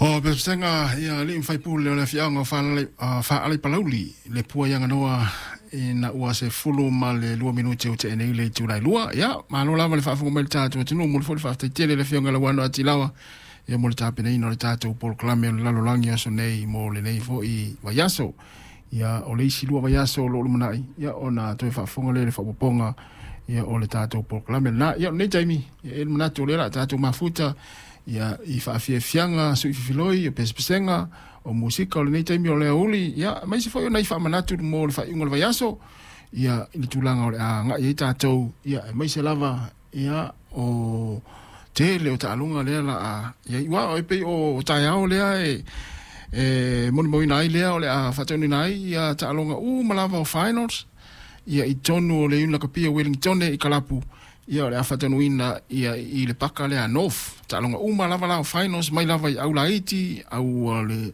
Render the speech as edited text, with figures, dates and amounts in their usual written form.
O pesega ia alii ma faipule o le afioaga o Faaalaipalauli le pua i Aganoa ina ua 12 minute ua tea nei le itula e 2. Ia, malo lava le faafofoga mai i le tatou atunuu. Momoli foi le faafetai tele i le Afioga ia Lauano Atilawa ia mo le tapenaina o le tatou polokalame o le lalolagi o aso nei mo lenei foi vaiaso. Ia, o le isi 2 vaiaso o lo o lumanai, ia ona toe faafofoga lea i le faaopoopoga ia o le tatou polokalame lena. Ia, o lenei taimi, ia e i ai le manatu o lea o le a tatou mafuta ia i faafiafiaga suififiloi o pesepesega o musika o lenei taimi o le aoauli, ia aemaise foi o nai faamanatu mo le faaiuga o le vaiaso ia i le tulaga o le a agai ai tatou, ia aemaise lava ia o tele o taaloga lea la a i ai. Ua e pei o taeao lea e molimauina ai lea o le a faataunuuina ai ia taaloga uma lava o finals ia i totonu o le Iuni Lakapi o Wellington i Kalapu, ia o le a faataunuuina ia i le paka lea North. Taaloga uma lava la o finals mai lava i aulaiti au le